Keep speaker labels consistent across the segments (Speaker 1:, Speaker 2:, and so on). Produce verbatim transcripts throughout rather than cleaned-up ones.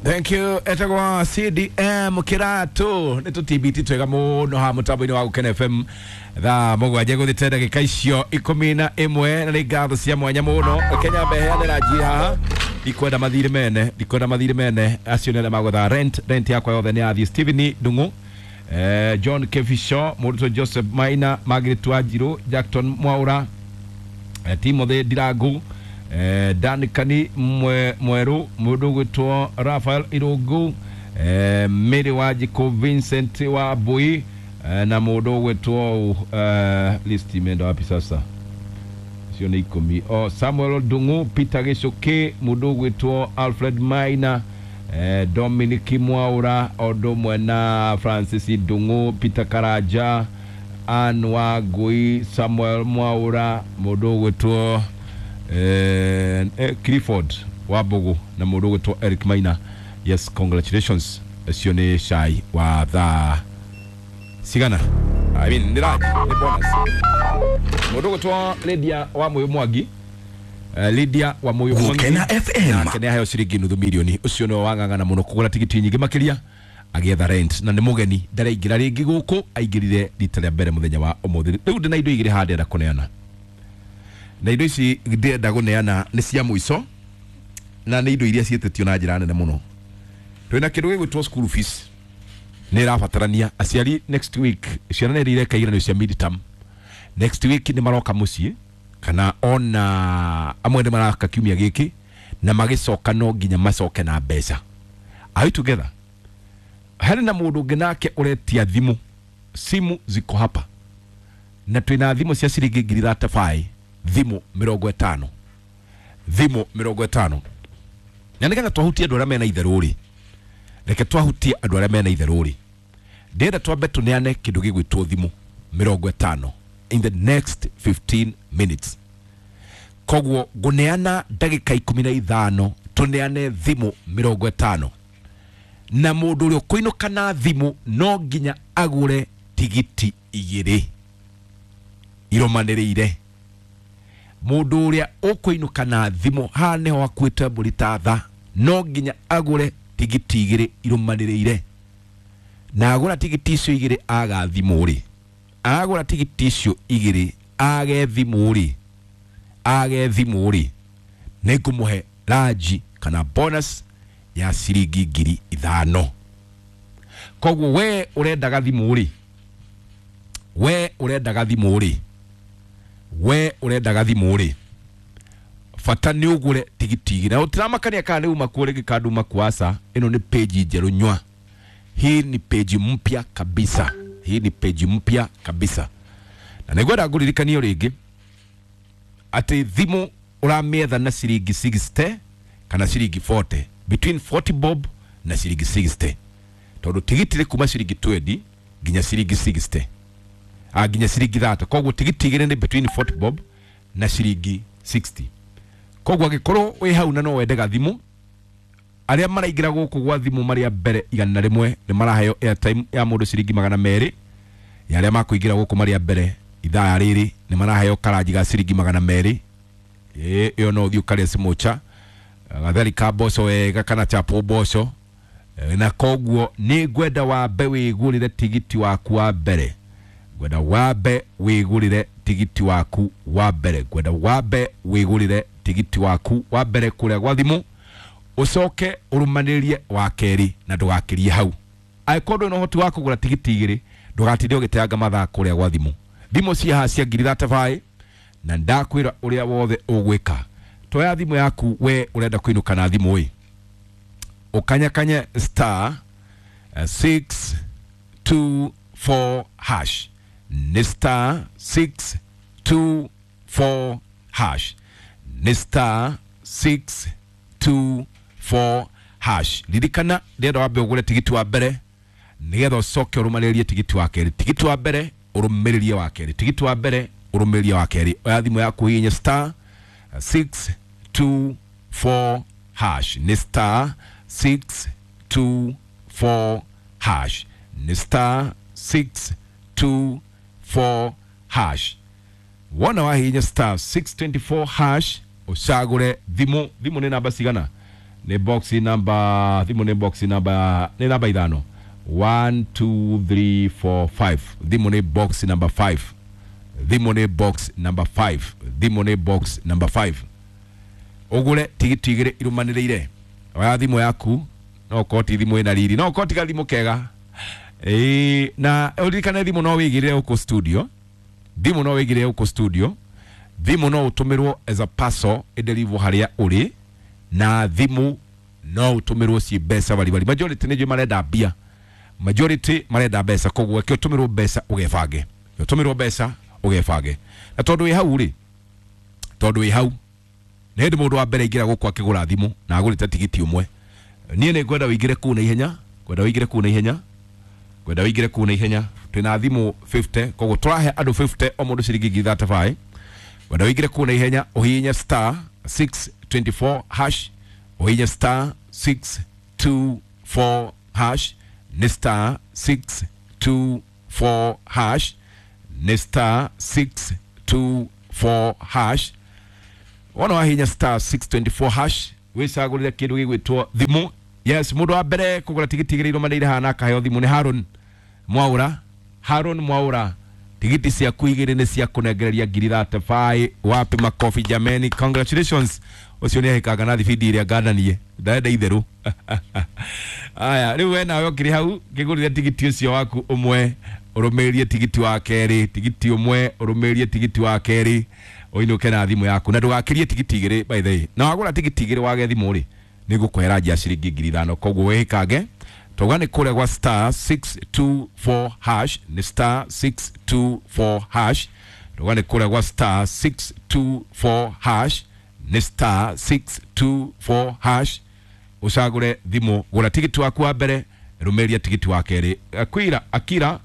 Speaker 1: Thank you. Etagwa C D M Kiratu. Nĩ tũtibiti twega mũno haha mũtambo-inĩ wa Gũkena F M thaa mũgwanja gũthiĩte ndagĩka icio ikũmi na ĩmwe, na nĩ ngatho cia mwanya mũno. Kenya mbeheanĩra njiri haha, ndikwenda mathirĩ mene, ndikwenda mathirĩ mene acio nĩ arĩa magwetha rent. Rent yakwa yothe nĩ yathiĩ. Stephen Ndung'u, eh, John Kevisho, mũrutwo Joseph Maina, Margaret Wanjiru, Jackton Mwaura, eh, Timothy Ndirangu, eh, Dan Kani Mweru, mũndũ ũgwĩtwo Raphael Irungu, eh, Mary Wanjikũ, Vincent wa Mbui, eh, na mũndũ ũgwĩtwo eh, list imeenda wapi sasa? Sio nĩ ikũmi. Oh, Samuel Ndung'u, Peter Gĩcũkĩ, mũndũ ũgwĩtwo Alfred Maina, eh, Dominic Mwaura, ũndũ ũmwe na Francis Ndung'u, Peter Karanja, Ann Wangui, Samuel Mwaura, mũndũ ũgwĩtwo eh, eh, Clifford Wambugu na mũndũ ũgwĩtwo Eric Maina. Yes, congratulations. Ũcio nĩ cai wa thaa cigana? I mean, nĩ lunch, nĩ bonus. Mũndũ ũgwĩtwo Lydia wa Mũyũ Mwangi, eh, Lydia wa Mũyũ Mwangi
Speaker 2: Gũkena F M.
Speaker 1: Nake nĩ aheo ciringi nuthu milioni. Ũcio nĩwe wang'ang'ana mũno kũgũra tigiti nyingĩ makĩria agĩetha rent, na nĩ mũgeni, ndaraingĩra rĩngĩ gũkũ, aingĩrire rita rĩa mbere mũthenya wa ũmũthĩ. Rĩu ndĩna indo igĩrĩ haha ndĩrenda kũneana, na indo ici ndĩrenda kũneana nĩ cia mũico, na nĩ indo iria ciĩtĩtio na njĩra nene mũno. Twĩna kĩndũ gĩgwĩtwo school fees, nĩ ĩrabatarania aciari next week. Ciana nĩ ireka igeranio cia midterm next week, nĩ maroka mũciĩ kana ona amwe nĩ maraka kiumia gĩkĩ, na magĩcoka no nginya macoke na mbeca. Are we together? Harĩ na mũndũ ũngĩ nake ũretia thimũ, simu ziko hapa, na twĩna thimũ cia ciringi ngiri thirty-five, thimũ mĩrongo ĩtano, thimũ mĩrongo ĩtano. Na nĩgetha twahutie andũ arĩa mena itherũ rĩ, reke twahutie andũ arĩa mena itherũ rĩ, ndĩrenda twambe tũneane kĩndũ gĩgwĩtwo thimũ mĩrongo ĩtano in the next fifteen minutes. Koguo ngũneana ndagĩka ikũmi na ithano tũneane thimũ mĩrongo ĩtano, na mũndũ ũrĩa ũkũinũka na thimũ no nginya agũre tigiti igĩrĩ irũmanĩrĩire. Mũndũ ũrĩa ũkũinũka na thimũ haha nĩho akuĩte mbũri ta tha, no nginya agũre tigiti igĩrĩ irũmanĩrĩire, na agũra tigiti icio igĩrĩ aga thimũ rĩ, agũra tigiti icio igĩrĩ age thimũ rĩ, age thimũ rĩ, nĩngũmũhe ranji kana bonus ya ciringi ngiri ithano. Koguo we ũrendaga thimũ rĩ, we ũrendaga thimũ rĩ, we ũrendaga thimũ rĩ, bata nĩ ũgũre tigiti igĩrĩ. Na ũtiramakania kana nĩ uma kuo rĩngĩ kana nduma kuo, aca, ĩno nĩ page njerũ nywa. Hii ni page mpya kabisa. Hii ni page mpya kabisa. Na nĩngwenda ngũririkanie rĩngĩ atĩ thimũ ũramĩetha na ciringi sixty kana ciringi forty, between forty bob na ciringi sixty, tondũ tigiti nĩ kuma ciringi twenty nginya ciringi sixty, ah, nginya ciringi thirty. Koguo tigiti igĩrĩ nĩ between forty bob na ciringi sixty. Koguo angĩkorwo wĩ hau na no wende gathimũ, arĩa maraingĩra gũkũ gwa thimũ marĩa mbere igana rĩmwe nĩ maraheo airtime ya mũndũ ciringi magana merĩ, ya arĩa makũingĩra gũkũ marĩa mbere ithaa rĩrĩ nĩ maraheo karanji ga ciringi magana merĩ. Ĩ, ĩyo no ũthiĩ ũkarĩe smocha, gatheri ka mboco wega kana chapo mboco. E, na koguo nĩ ngwenda wambe wĩgũrĩre tigiti waku wa mbere, ngwenda wambe wĩgũrĩre tigiti waku wa mbere, ngwenda wambe wĩgũrĩre tigiti waku wa mbere kũrĩa gwa thimũ, ũcoke ũrũmanĩrĩrie wa kerĩ na ndũgakĩrie hau. Angĩkorwo ndũrĩ na ũhoti wa kũgũra tigiti igĩrĩ, ndũgatinde ũgĩteanga mathaa kũrĩa gwa thimũ. Thimũ ciĩ haha cia ngiri thirty-five, na ndakwĩra ũrĩa wothe ũgwĩka. Toya thimũ yaku we ũrenda kũinũka na thimũ ĩ, ũkanyakanye star six two four hash, nĩ star six two four hash, nĩ star six two four hash. Ririkana ndĩrenda wambe ũgũre tigiti wa mbere nĩgetha ũcoke ũrũmanĩrĩrie tigiti wa kerĩ. Tigiti wa mbere ũrũmĩrĩrie wa kerĩ, tigiti wa mbere ũrũmĩrĩrie wa kerĩ. Oya thimũ yaku hihinye star six two four hash, nĩ star six two four hash, nĩ star six two four hash. Wona wahihinya star six twenty-four hash ũcagũre thimũ. Thimũ nĩ namba cigana? Nĩ box number, thimũ nĩ box number, nĩ namba ithano. one two three four five. Thimũ nĩ box number five. Thimũ nĩ box number five. Thimũ nĩ box number five. Ũgũre tigiti igĩrĩ irũmanĩrĩire. Oya thimũ yaku, no ũkorwo ti thimũ ĩna riri, no ũkorwo ti gathimũ kega. Ĩĩ, na ũririkane thimũ no wĩigĩrĩre gũkũ studio. Thimũ no wĩigĩrĩre gũkũ studio. Thimũ no ũtũmĩrwo as a parcel ĩdeliverwo harĩa ũrĩ, na thimũ no ũtũmĩrwo ciĩ mbeca baribari. Majority nĩ njũĩ marenda mbia, majority marenda mbeca, koguo reke ũtũmĩrwo mbeca ũgebange, ũtũmĩrwo mbeca ũgebange. Na tondũ wĩ hau rĩ, tondũ wĩ hau nĩ hĩndĩ mũndũ wa mbere aingĩra gũkũ akĩgũra thimũ na agũrĩte tigiti ũmwe, niĩ nĩ ngwenda ũingĩre kũu na ihenya, ngwenda ũingĩre kũu na ihenya, ngwenda ũingĩre kũu na ihenya. Twĩna thimũ fifty, koguo tũrahe andũ fifty o mũndũ ciringi ngiri thirty-five. Ngwenda ũingĩre kũu na ihenya, ũhihinye star six twenty-four hash, ũhihinye star six two four hash, nĩ star six two four hash, nĩ star six two four hash. Wona wahihinya star six twenty-four hash, wĩcagũrĩre kĩndũ gĩgwĩtwo thimũ. Yes, mũndũ wa mbere kũgũra tigiti igĩrĩ irũmanĩrĩire haha na akaheo thimũ nĩ Haron Mwaura. Haron Mwaura, tigiti ciaku igĩrĩ nĩ cia kũnengereria ngiri thirty-five. Wapi makofi jameni, congratulations. Ũcio nĩ ahĩkanga na thibindi ĩrĩa ngandanie, ndarenda itherũ. Aya, rĩu we nawe ũkĩrĩ hau kĩgũrĩre tigiti ũcio waku ũmwe, ũrũmĩrĩrie tigiti wa kerĩ, tigiti ũmwe ũrũmĩrĩrie tigiti wa kerĩ, ũinũke na thimũ yaku, na ndũgakĩrie tigiti igĩrĩ by the way. Na wagũra tigiti igĩrĩ wage thimũ rĩ, nĩ ngũkũhera nja ciringi ngiri ithano. Koguo wĩhĩkange, tauga nĩ kũrĩa gwa star six two four hash, nĩ star six two four hash, tauga nĩ kũrĩa gwa star six two four hash, nĩ star six two four hash, ũcagũre thimũ. Gũra tigiti waku wa mbere, rũmĩrĩria tigiti wa kerĩ. Akira, Akira,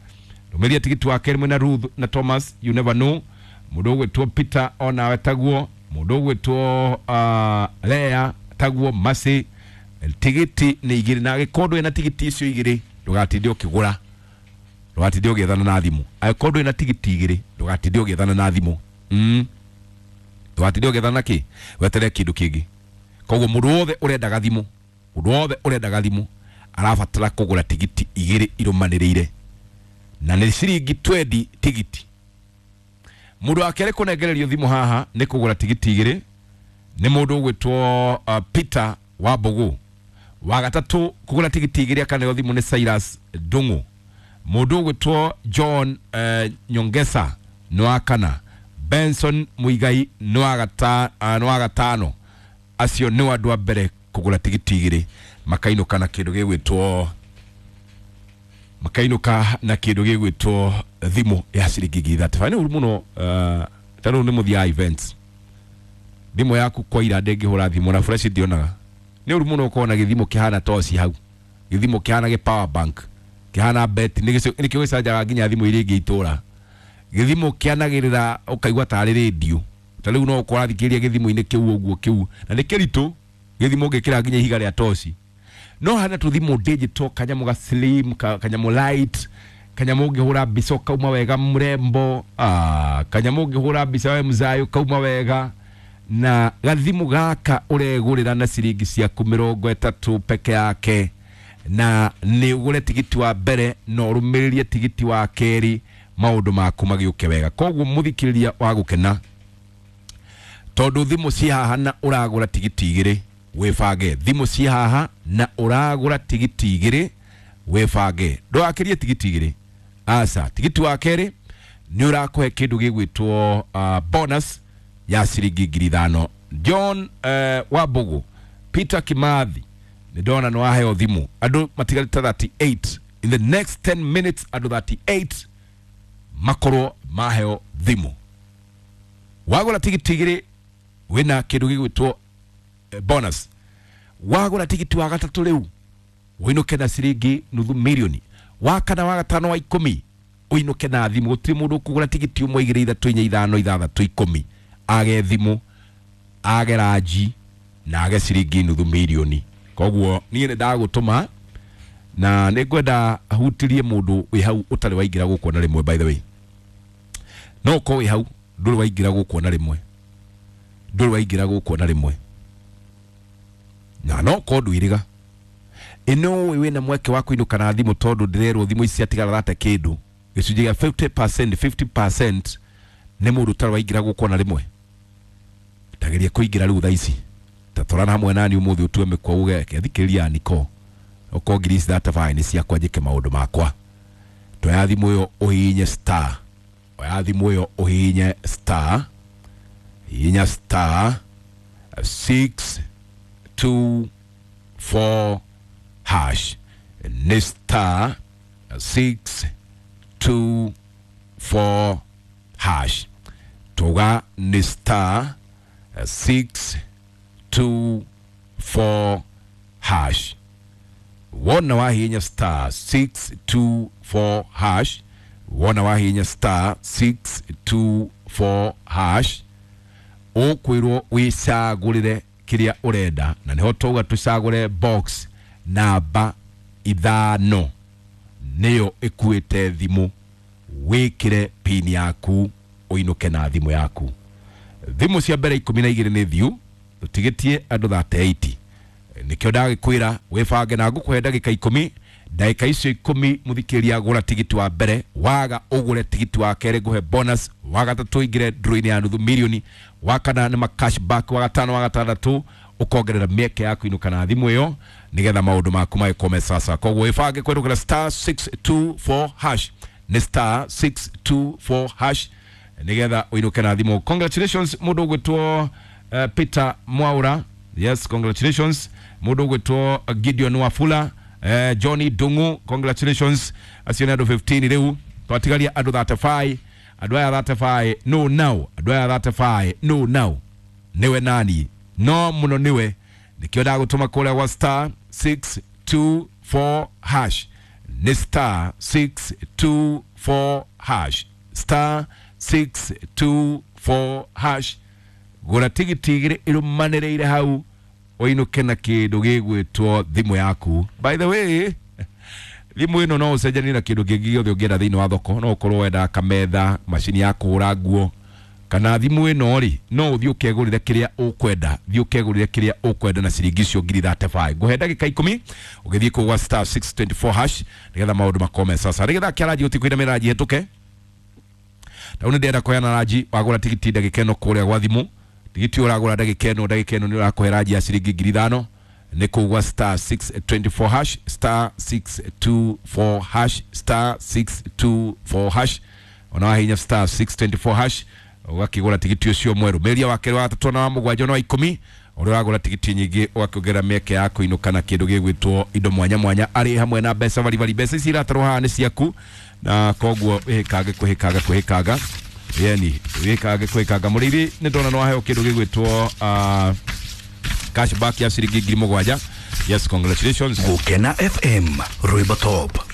Speaker 1: rũmĩrĩria tigiti wa kerĩ mwĩna Ruth na Thomas, you never know. Mũndũ ũgwĩtwo Peter onawe taguo, mũndũ ũgwĩtwo, uh, Lea taguo, Mercy. Tigiti nĩ igĩrĩ, na angĩkorwo ndũrĩ na tigiti icio igĩrĩ ndũgatinde ũkĩgũra, ndũgatinde ũgĩethana na thimũ. Angĩkorwo ndũrĩ na tigiti igĩrĩ ndũgatinde ũgĩethana na thimũ. Mm. Ndũgatinde ũgĩethana na kĩ, weterere kĩndũ kĩngĩ. Koguo mũndũ wothe ũrendaga thimũ, mũndũ wothe ũrendaga thimũ arabatara kũgũra tigiti igĩrĩ irũmanĩrĩire, na nĩ ciringi twenty tigiti. Mũndũ wa kerĩ kũnengererio thimũ haha nĩ kũgũra tigiti igĩrĩ nĩ mũndũ ũgwĩtwo, uh, Peter Wambugu. Wa gatatũ kũgũra tigiti igĩrĩ akaneo thimũ nĩ Cyrus Ndung'u. Mũndũ ũgwĩtwo John, uh, Nyongesa nĩ wa kana. Benson Muigai nĩ wa gata-, uh, nĩ wa gatano. Acio nĩ andũ a mbere kũgũra tigiti igĩrĩ makainũka na kĩndũ gĩgwĩtwo, makainũka na kĩndũ gĩgwĩtwo thimũ ya ciringi ngiri thirty-five. Nĩ ũru mũno, uh, ta rĩu nĩ mũthiaga events, thimũ yaku kwaira ndĩngĩhũra thimũ na fresh ndionaga. Nĩ ũru mũno ũkorwo na gĩthimũ kĩhana toci hau, gĩthimũ kĩhana gĩ power bank, kĩhana bet, nĩkĩo gĩcanjaga nginya thimũ iria ingĩ itũra. Gĩthimũ kĩanagĩrĩra ũkaigua tarĩ radio. Ta rĩu no ũkorwo ũrathikĩrĩria gĩthimũ-inĩ kĩu ũguo kĩu, na nĩ kĩritũ gĩthimũ ũngĩkĩra nginya ihiga rĩa toci. No hana tũthimũ digital, kanyamũ ga slim, ka-, kanyamũ light, kanyamũ ũngĩhũra mbica ũkauma wega mũrembo, ah, kanyamũ ũngĩhũra mbica we mzayo ũkauma wega. Na gathimũ gaka ũregũrĩra na ciringi ciaku mĩrongo ĩtatũ peke yake, na nĩ ũgũre tigiti wa mbere na ũrũmĩrĩrie tigiti wa kerĩ, maũndũ maku magĩũke wega. Koguo mũthikĩrĩria wa gũkena, tondũ thimũ ci haha na ũragũra tigiti igĩrĩ wĩbange. Thimũ ci haha na ũragũra tigiti igĩrĩ wĩbange, ndũgakĩrie tigiti igĩrĩ. Aca, tigiti wa kerĩ nĩ ũrakũhe kĩndũ gĩgwĩtwo, uh, bonus ya ciringi ngiri ithano. John, uh, Wambugu, Peter Kimathi, nĩ ndona nĩ waheo thimũ. Andũ matigarĩte thirty-eight. In the next ten minutes andũ thirty-eight makorwo maheo thimũ. Wagũra tigiti igĩrĩ wĩna kĩndũ gĩgwĩtwo, eh, bonus. Wagũra tigiti wa gatatũ rĩu ũinũke na ciringi nuthu mirioni. Wa kana, wa gatano, wa ikũmi ũinũke na thimũ. Gũtirĩ mũndũ ũkũgũra tigiti ũmwe, igĩrĩ, ithatũ, inya, ithano, ithathatũ, ikũmi age thimũ, age ranji na age ciringi nuthu mirioni. Koguo niĩ nĩ ndagũtũma na nĩ ngwenda hutirie mũndũ wĩ hau ũtarĩ waingĩra gũkũ na rĩmwe. By the way, no ũkorwo wĩ hau ndũrĩ waingĩra gũkũ na rĩmwe, ndũrĩ waingĩra gũkũ na rĩmwe, Na no ko ndwiriga ino wina mweke wa kuinuka na thimu tondu ndirerwo thimu ici ciatigara rate kindu gicunjĩ gĩa fifty percent fifty percent nĩ mũndũ ũtarĩ waingĩra gũkũ ona rĩmwe. Tageria kũingĩra rĩu thaa ici ta twarana hamwe nani ũmũthĩ ũtue mĩkwa uge thikĩrĩria niko okorwo ngiri ici thirty-five nĩ ciakwa njĩke maũndũ makwa. Toya thimũ ĩyo ũhihinye star, oya thimũ ĩyo ũhihinye star, hihinya star six two four hash, nĩ star six two four hash, tuga nĩ star six two four hash. Wona wahihinya star six two four hash, wona wahihinya star six two four hash, ũkwĩrwo wĩcagũrĩre kĩrĩa ũrenda, na nĩho tauga tũcagũre box namba ithano nĩyo ĩkuĩte thimũ, wĩkĩre pin yaku ũinũke na thimũ yaku. Thimũ cia mbere ikũmi na igĩrĩ nĩ thiu, tũtigĩtie andũ thirty-eight. Nĩkĩo ndagĩkwĩra wĩbange na ngũkũhe ndagĩka ikũmi. Ndagĩka icio ikũmi mũthikĩrĩria gũra tigiti wa mbere, waga ũgũre tigiti wa kerĩ ngũhe bonus, wa gatatũ ingĩre draw-inĩ ya nuthu milioni, wa kana nĩ ma cashback, wa gatano wa gatandatũ ũkongerera mĩeke ya kũinũka na thimũ ĩyo nĩgetha maũndũ maku magĩkorwo me sasa. Koguo wĩbange kũhetũkĩra star six two four hash, nĩ star six two four hash nĩgetha ũinũke na thimũ. Congratulations mũndũ ũgwĩtwo uh, Peter Mwaura, yes congratulations. Mũndũ ũgwĩtwo Gideon Wafula, eh, Johnny Dungu, congratulations. Acio nĩ andũ fifteen rĩu, twatigaria andũ thirty-five. Andũ aya thirty-five no now, andũ aya thirty-five no now, nĩwe nani no mũno nĩwe. Nĩkĩo ndagũtũma kũrĩa gwa star six two four hash, nĩ star six two four hash, star six two four hash. Gũra tigiti igĩrĩ ĩrũmanĩrĩire hau ũinũke na kĩndũ gĩgwĩtwo thimũ yaku. By the way, thimũ ĩno no ũcenjanie na kĩndũ kĩngĩ gĩothe ũngĩenda thĩinĩ wa thoko. No ũkorwo wendaga kametha, macini ya kũhũra nguo, kana thimũ ĩno rĩ no ũthiĩ ũkegũrĩre kĩrĩa ũkwenda, thiĩ ũkegũrĩre kĩrĩa ũkwenda na ciringi icio ngiri thirty-five. Ngũhe ndagĩka ikũmi ũgĩthiĩ kũu gwa star six twenty four hash nĩgetha maũndũ makorwo me sasa. Nĩgetha kĩaranji gũtikwĩra mĩranji hetũke tau nĩ ndĩrenda kũheana ranji. Wagũra tigiti ndagĩka ĩno kũrĩa gwa thimũ, tigiti ũragũra ndagĩka ĩno, ndagĩka ĩno nĩ ũrakũhe ranji ya ciringi ngiri ithano. Nĩ kũu gwa star six twenty four hash, star six two four hash, star six two four hash. Ona wahihinya star six twenty four hash ũgakĩgũra tigiti ũcio mwerũ. Mĩeria wa kerĩ, wa gatatũ na wa mũgwanja na wa ikũmi, ũrĩa ũragũra tigiti nyingĩ ũgakĩongerera mĩeke ya kũinũka na kĩndũ gĩgwĩtwo indo mwanya mwanya arĩ hamwe na mbeca baribari. Mbeca ici iratarwo haha nĩ ciaku, na koguo wĩhĩkange kwĩhĩkanga kwĩhĩkanga, yani wĩhĩkange kwĩhĩkanga. Mũrĩithi nĩ ndona nĩ waheo kĩndũ gĩgwĩtwo uh, cashback ya ciringi ngiri mũgwanja. Yes, congratulations.
Speaker 2: Gukena F M, Rwimbo Top.